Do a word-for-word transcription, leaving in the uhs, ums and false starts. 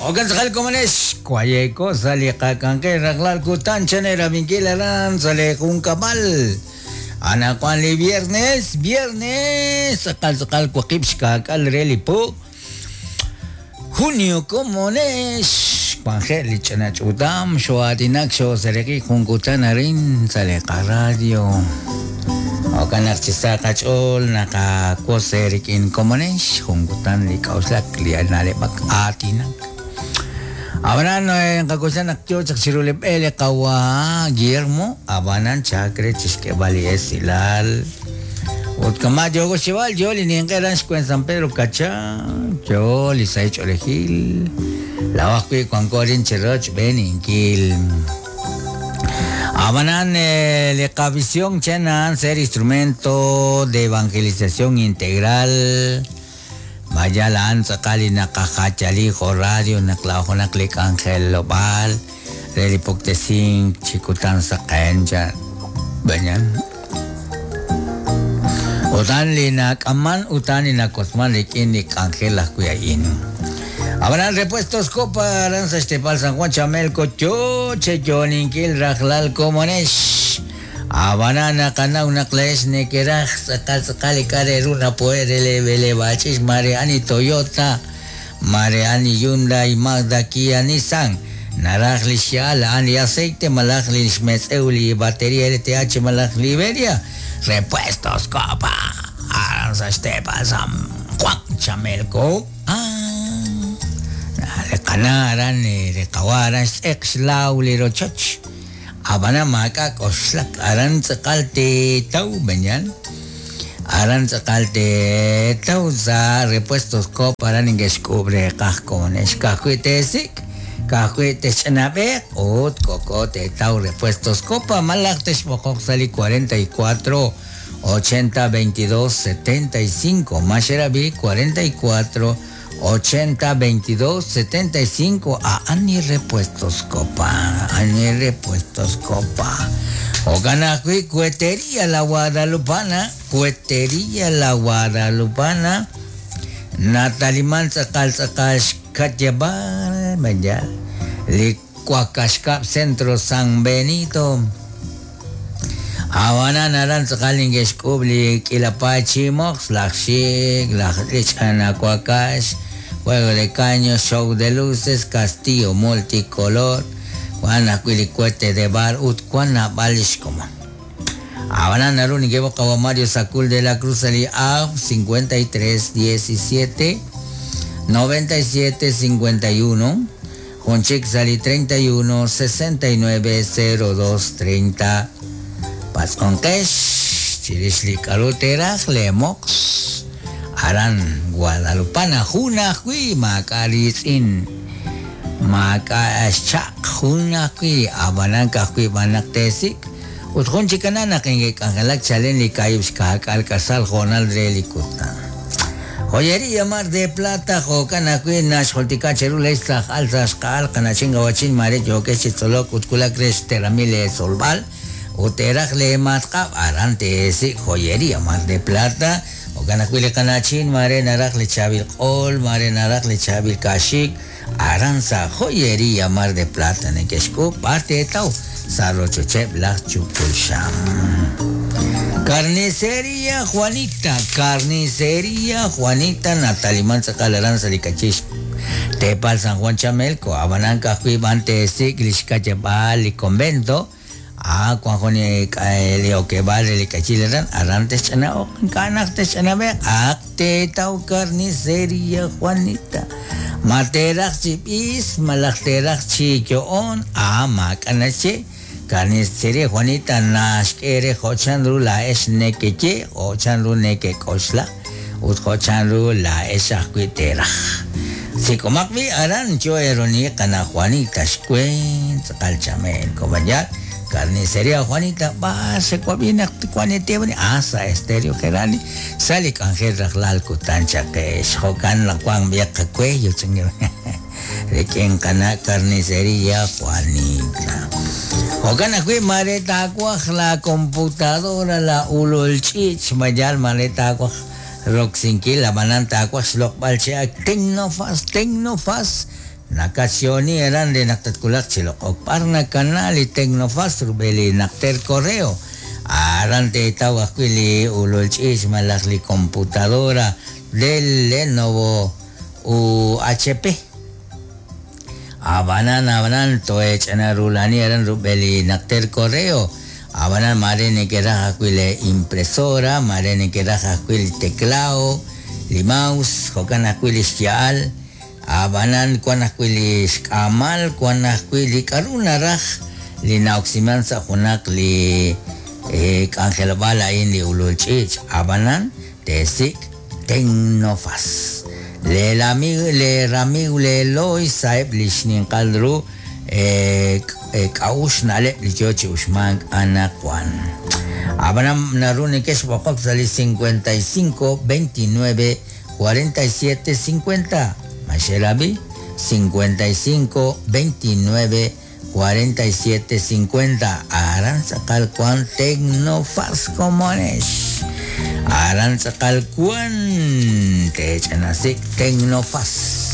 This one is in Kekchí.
Okan tz'aqal komonex kwayeko sa' li qak'anjel rajlal kutan chanera binkil aran sa' li junkab'al. Anaqwan li viernes, viernes tz'aqal tz'aqal waqib' xka'k'al re li po junio komonex kwanjel li ch'ina ch'utam xo'aatinak xo'sereqi jun kutan arin sa' li qaradio. Okan naq chi sa' qach'ool naqakose rik'in komonex jun kutan li k'a'uxlak li na'leb'ak aatinak. Abanan nqakuxan naq yo chaq chiru li b'e li qawa Guillermo abanan chakre chixk'eb'al li esilal. Ut kama yogo xib'al yo li ninq'eran xkwen San Pedro Kacha yo li sahil ch'oolejil lawaj wi' wanko arin chiroch b'eninkil. Abanan li qavisión chenan ser instrumento de evangelización integral. Vaya la anza kali nakakachali jo radio naklajo naklik Ángel Lobal relipoktesin chikutan sa kenja banyan utan li nakaman utan li nakosman likin ni Ángel akuyain. Habrán repuestos Copa Aranza Estepal San Juan Chamelco yo cheyoninkil rajlal komonesh. Abanana kana una kles nekeraj sakal sakal kareruna poerele bele bachis Mariani Toyota Mariani Hyundai Mazda Kia Nissan naraj li xal ani aceite malaj li xmetzeuli batería L T H malaj Liberia repuestos Copa Aranza Estepal San Juan Chamelco. Ah reqanaran reqawaran x'eqxlaw li rochoch. Abana maka koslak aran tz'aqal te tau banyan aran tz'aqal te tau za repuestos Copa aran ingexk'ub reqaj konex kajwi' tesik kajwi' texch'anab'eq ut koko te tau repuestos Copa malaj texb'oqoq sali cuarenta y cuatro ochenta veintidós setenta y cinco maxerabi cuarenta y cuatro ochenta veintidós setenta y cinco a Ani Repuestos Copa, Ani Repuestos Copa. Oganajui, Cuetería La Guadalupana, Cuetería La Guadalupana, Natalimán Tzakal Tzakal Xcatyabal, Mayal, Licuacashcap Centro San Benito. Habana naran tzakal ingexk'ub li k'ilapachimox, lajxik, lajlich anacuacax, juego de caños, show de luces, castillo multicolor, Juana cuilicuete de bar, utcuana balishcoma. Habana narun ingebo kawa Mario Sacul de la Cruz ali A cincuenta y tres diecisiete noventa y siete cincuenta y uno, Jonchik sali treinta y uno sesenta y nueve cero dos treinta. Pazconquesh, chirishli karuteraj, lemox, aran Guadalupana, juna hui, macaritzin, macaschak, juna hui, abananka hui, banaktesik, utjunchikanana, kingekangelak, chalen, likayushkak, alcazal, jonal, relikuta. Joyería Mar de Plata, jokana hui, nash, joltika, cherula, istaj, alzas, kal, kanachinga, wachin, mare, yokechi, tzolok, utkulak, resh, teramile, solval, uteraj le matqab arante ese joyería Mar de Plata okanakuile kanachin mare naraj le chabil qol mare naraj le chabil kashik aranza joyería Mar de Plata nekexku parte tau sarrochochep laj chupulsham. Carnicería Juanita, Carnicería Juanita Natalimán tzakal aranza likachish Tepal San Juan Chamelco abananka juibante sik lishkachebal y convento. Ah, cuando leo que vale le cachileran, arantes chana o canastes chana ve, acte tau carnicería Juanita. Materach chipis, malachterach chichoon, ah, macanache, carnicería Juanita, nashkere, hochanru la es nequeche, hochanru neque cosla, ut hochanru la es acuiteraj. Si comakbi aran cho eroni cana Juanita, shkuen, calchamel, cobayal. Carnicería Juanita, va, se cuabina, cuanete, asa, estéreo, gerani, sale cangel, rajlal, kutancha, que es, jocan, la cuan, viaja, cuello, señor. De quien cana, carnicería Juanita. Jocan, ajui, mareta, cuaj, la computadora, la ululchich, mayal, mareta, cuaj, roxinquil, la bananta, cuaj, slok, balchea, tecnofas, tecnofas, Nakatxyoni aran re naq tatwulaq chi loq'ok b'ar nakana li Tecnofast rub'el li naqter correo. Aran teetaw ajwi' li ulul ch'iich malaj li computadora del Lenovo u H P. Abanan, abanan, toech'ana rulani aran rub'el li naqter correo. Abanan mare nekeraj ajwi' le impresora, mare nekeraj ajwi' li teclao, li mouse, jo'kan ajwi' li xya'al. Abanan wan ajwi' li xk'aamal, wan ajwi' li k'a'ru naraj li na'oksiman sa' junaq li, eh, k'anjelob'aal a'in li ulul ch'iich. Abanan teesik' Tecnofast. Le lamigo, le ramigo, le loy saeb li xninqal ru, eh, eh, k'a'ux na'leb' li yo chi uxmank anaqwan. Abanan naru nekex b'oqok sa' li cincuenta y cinco, veintinueve, cuarenta y siete, cincuenta. Maxelabi, cincuenta y cinco, veintinueve, cuarenta y siete, cincuenta. Aran tz'aqal kuan Tecnofast komonex. Aran tz'aqal kuan techanasik Tecnofast.